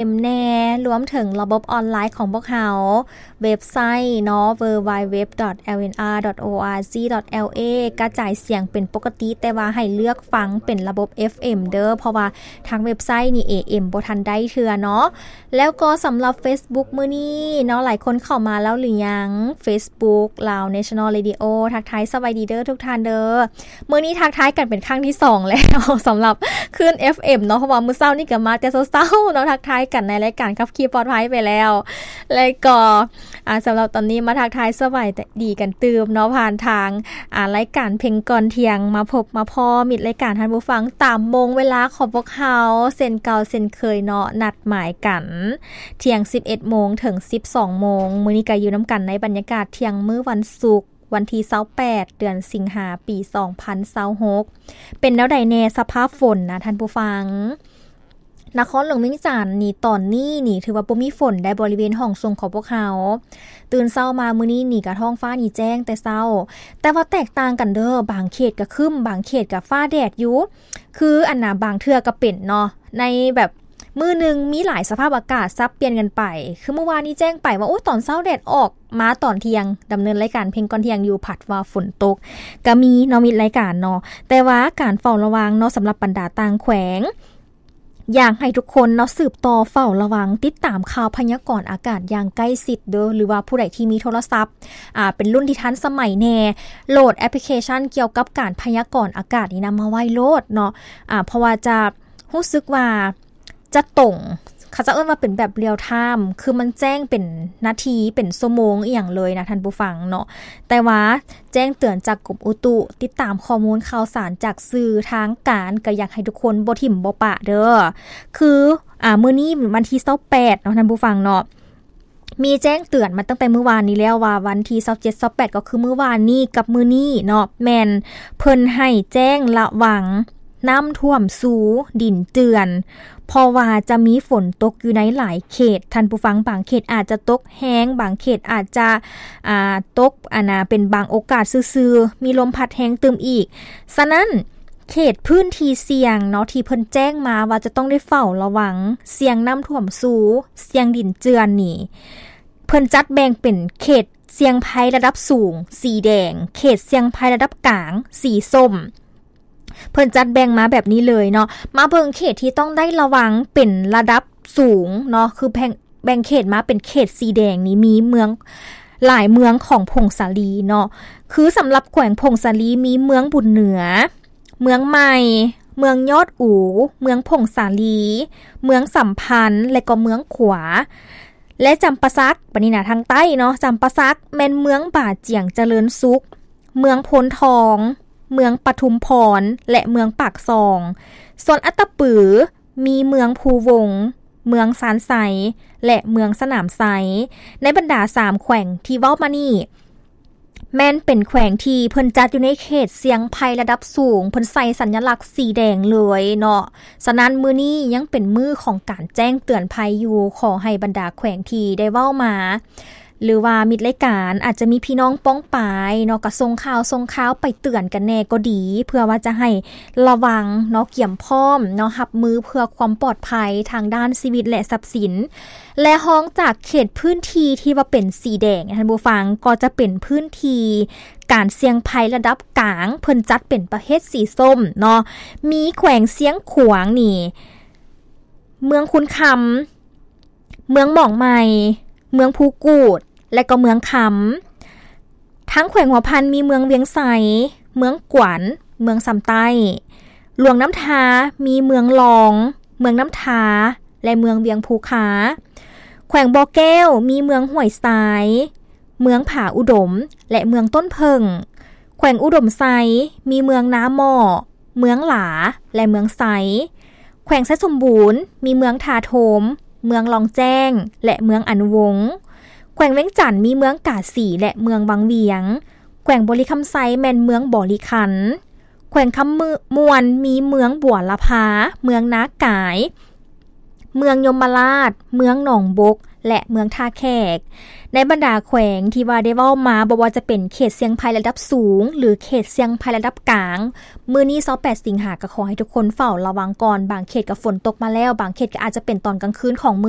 ເອັມ ແດ່ ລວມເຖິງລະບົບອອນລາຍຂອງພວກເຮົາ, ເວັບໄຊເນາະ www.lnr.org.la ກະຈາຍສຽງເປັນປົກກະຕິ ແຕ່ວ່າໃຫ້ເລືອກຟັງເປັນລະບົບ ເອັຟເອັມ ເດີ້ ເພາະວ່າທາງເວັບໄຊນີ້ ເອເອັມ ບໍ່ທັນໄດ້ເທື່ອເນາະ. ແລ້ວກໍສຳລັບ Facebook ມື້ນີ້ເນາະ ຫຼາຍຄົນເຂົ້າມາແລ້ວຫຼືຍັງ? Facebook Lao National Radio ທັກທາຍສະບາຍດີເດີ້ທຸກທ່ານເດີ້. ມື້ນີ້ທັກທາຍກັນເປັນຄັ້ງທີສອງແລ້ວ ສຳລັບຄື້ນ ເອັຟເອັມ ເນາະ ເພາະວ່າມື້ເຊົ້ານີ້ກໍມາແຕ່ເຊົ້າໆເນາະ ທັກທາຍກັນໃນລາຍການຂັບຂີ່ປອດໄພໄປແລ້ວ ແລ້ວກໍ ອາ ສຳລັບຕອນນີ້ມາທັກທາຍສະບາຍດີກັນຕື່ມເນາະ ຜ່ານທາງ ອາ ລາຍການເພັງກ່ອນທ່ຽງ ມາພົບມາພໍ້ມິດລາຍການທ່ານຜູ້ຟັງຕາມໂມງເວລາຂອງພວກເຮົາ ເຊັ່ນເກົ່າເຊັ່ນເຄີຍເນາະ ນັດໝາຍກັນທ່ຽງສິບເອັດໂມງເຖິງສິບສອງໂມງ. ມື້ນີ້ກໍຢູ່ນຳກັນໃນບັນຍາກາດທ່ຽງມື້ວັນສຸກ ວັນທີຊາວແປດ ເດືອນສິງຫາ ປີສອງພັນຊາວຫົກ. ເປັນແນວໃດແດ່ສະພາບຝົນນະທ່ານຜູ້ຟັງ? ນະຄອນຫຼວງວຽງຈັນນີ້ ຕອນນີ້ນີ້ຖືວ່າບໍ່ມີຝົນໃດບໍລິເວນຫ້ອງສົ່ງຂອງພວກເຮົາ. ຕື່ນເຊົ້າມາມື້ນີ້ນີ້ກະທ້ອງຟ້ານີ້ແຈ້ງແຕ່ເຊົ້າ, ແຕ່ວ່າແຕກຕ່າງກັນເດີ້ ບາງເຂດກະຄຶ້ມ ບາງເຂດກະຟ້າແດດຢູ່. ຄືອັນນະ ບາງເທື່ອກະເປັນເນາະ ໃນແບບ ມື້ໜຶ່ງມີຫຼາຍສະພາບອາກາດສັບປ່ຽນກັນໄປ. ຄືມື້ວານນີ້ແຈ້ງໄປວ່າ ໂອ້ ຕອນເຊົ້າແດດອອກ ມາຕອນທ່ຽງ ດຳເນີນລາຍການເພັງກ່ອນທ່ຽງຢູ່ ພັດວ່າຝົນຕົກ ກະມີເນາະ ມິດລາຍການເນາະ. ແຕ່ວ່າການເຝົ້າລະວັງເນາະ ສຳລັບບັນດາຕ່າງແຂວງ ຢາກໃຫ້ທຸກຄົນເນາະ ສືບຕໍ່ເຝົ້າລະວັງ ຕິດຕາມຂ່າວພະຍາກອນອາກາດຢ່າງໃກ້ຊິດເດີ້ ຫຼືວ່າຜູ້ໃດທີ່ມີໂທລະສັບ ອາ ເປັນລຸ້ນທີ່ທັນສະໄໝແດ່ ໂຫຼດແອັບພລິເຄຊັນກ່ຽວກັບການພະຍາກອນອາກາດນີ້ນຳມາໄວ້ໂລດເນາະ ອາ ເພາະວ່າຈະ ຮູ້ສຶກວ່າຈະຕົງ ເຂົາເຈົ້າເອີ້ນວ່າເປັນແບບ real time ຄືມັນແຈ້ງເປັນນາທີ ເປັນຊົ່ວໂມງອີ່ຫຍັງເລີຍນະທ່ານຜູ້ຟັງເນາະ. ແຕ່ວ່າແຈ້ງເຕືອນຈາກກົມອຸຕຸ ຕິດຕາມຂໍ້ມູນຂ່າວສານຈາກສື່ທາງການ ກໍຢາກໃຫ້ທຸກຄົນບໍ່ຖິ້ມບໍ່ປະເດີ້. ຄື ອາ ມື້ນີ້ວັນທີຊາວແປດເນາະທ່ານຜູ້ຟັງເນາະ ມີແຈ້ງເຕືອນມາຕັ້ງແຕ່ມື້ວານນີ້ແລ້ວວ່າ ວັນທີຊາວເຈັດ ຊາວແປດ ກໍຄືມື້ວານນີ້ກັບມື້ນີ້ເນາະ ແມ່ນເພິ່ນໃຫ້ແຈ້ງລະວັງນ້ຳຖ້ວມຊູ ດິນເຈື່ອນ ເພາະວ່າຈະມີຝົນຕົກຢູ່ໃນຫຼາຍເຂດ ທ່ານຜູ້ຟັງ. ບາງເຂດອາດຈະຕົກແຮງ ບາງເຂດອາດຈະ ອາ ຕົກ ອັນນະ ເປັນບາງໂອກາດຊື່ໆ ມີລົມພັດແຮງຕື່ມອີກ. ສະນັ້ນ ເຂດພື້ນທີ່ສ່ຽງເນາະ ທີ່ເພິ່ນແຈ້ງມາວ່າຈະຕ້ອງໄດ້ເຝົ້າລະວັງສ່ຽງນ້ຳຖ້ວມຊູ ສ່ຽງດິນເຈື່ອນນີ້ ເພິ່ນຈັດແບ່ງເປັນເຂດສ່ຽງໄພລະດັບສູງ ສີແດງ, ເຂດສ່ຽງໄພລະດັບກາງ ສີສົ້ມ. ເພິ່ນຈັດແບ່ງມາແບບນີ້ເລີຍເນາະ. ມາເບິ່ງເຂດທີ່ຕ້ອງໄດ້ລະວັງເປັນລະດັບສູງເນາະ ຄືແບ່ງ ແບ່ງເຂດມາເປັນເຂດສີແດງນີ້ ມີເມືອງ ຫຼາຍເມືອງຂອງຜົ້ງສາລີເນາະ. ຄືສຳລັບແຂວງຜົ້ງສາລີ ມີເມືອງບຸນເໜືອ, ເມືອງໃໝ່, ເມືອງຍອດອູ, ເມືອງຜົ້ງສາລີ, ເມືອງສຳພັນ ແລະກໍເມືອງຂວາ ແລະຈຳປາສັກ. ບັດນີ້ນະ ທາງໃຕ້ເນາະ ຈຳປາສັກແມ່ນເມືອງບາຈຽງຈະເລີນສຸກ, ເມືອງໂພນທອງ, ເມືອງປະທຸມພອນ ແລະເມືອງປາກຊ່ອງ. ສ່ວນອັດຕະປື ມີເມືອງພູວົງ, ເມືອງຊານໄຊ ແລະເມືອງສະໜາມໄຊ. ໃນບັນດາສາມແຂວງທີ່ເວົ້າມານີ້ ແມ່ນເປັນແຂວງທີ່ເພິ່ນຈັດຢູ່ໃນເຂດສ່ຽງໄພລະດັບສູງ, ເພິ່ນໃສ່ສັນຍະລັກສີແດງເລີຍເນາະ. ສະນັ້ນ ມື້ນີ້ຍັງເປັນມື້ຂອງການແຈ້ງເຕືອນໄພຢູ່. ຂໍໃຫ້ບັນດາແຂວງທີ່ໄດ້ເວົ້າມາ ຫຼືວ່າມິດລາຍການ ອາດຈະມີພີ່ນ້ອງປ້ອງປາຍເນາະ ກໍສົ່ງຂ່າວ ສົ່ງຂ່າວໄປເຕືອນກັນແດ່ກໍດີ ເພື່ອວ່າຈະໃຫ້ລະວັງເນາະ ກຽມພ້ອມເນາະ ຮັບມືເພື່ອຄວາມປອດໄພທາງດ້ານຊີວິດ ແລະ ຊັບສິນ. ແລະຮອງຈາກເຂດພື້ນທີ່ທີ່ວ່າເປັນສີແດງ ທ່ານຜູ້ຟັງ ກໍຈະເປັນພື້ນທີ່ການສ່ຽງໄພລະດັບກາງ ເພິ່ນຈັດເປັນປະເພດສີສົ້ມເນາະ. ມີແຂວງຊຽງຂວາງນີ້ ເມືອງຄຸນຄຳ, ເມືອງໝອງໃໝ່, ເມືອງພູກູດ ແລະກໍເມືອງຄຳ. ທາງແຂວງຫົວພັນມີເມືອງວຽງໄຊ, ເມືອງກວນ, ເມືອງຊຳໃຕ້. ຫຼວງນ້ຳທາມີເມືອງລອງ, ເມືອງນ້ຳທາ ແລະເມືອງວຽງພູຄາ. ແຂວງບໍ່ແກ້ວມີເມືອງຫ້ວຍຊາຍ, ເມືອງຜາອຸດົມ ແລະເມືອງຕົ້ນເຜິ້ງ. ແຂວງອຸດົມໄຊມີເມືອງນາໝໍ້, ເມືອງຫຼາ ແລະເມືອງໄຊ. ແຂວງໄຊສົມບູນມີເມືອງທ່າໂທມ, ເມືອງລ່ອງແຈ້ງ ແລະເມືອງອະນຸວົງ. ແຂວງວຽງຈັນມີເມືອງກາສີ ແລະເມືອງວັງວຽງ. ແຂວງບໍລິຄຳໄຊແມ່ນເມືອງບໍລິຄັນ. ແຂວງຄຳມ່ວນມີເມືອງບົວລະພາ, ເມືອງນາກາຍ. ເມືອງຍົມມະລາດ, ເມືອງໜອງບົກ ແລະ ເມືອງທ່າແຂກ. ໃນບັນດາແຂວງທີ່ວ່າໄດ້ເວົ້າມາ, ບໍ່ວ່າຈະເປັນເຂດສ່ຽງໄພລະດັບສູງ ຫຼື ເຂດສ່ຽງໄພລະດັບກາງ, ມື້ນີ້ຊາວແປດສິງຫາ ກໍຂໍໃຫ້ທຸກຄົນເຝົ້າລະວັງກ່ອນ. ບາງເຂດກໍຝົນຕົກມາແລ້ວ, ບາງເຂດກໍອາດຈະເປັນຕອນກາງຄືນຂອງມື້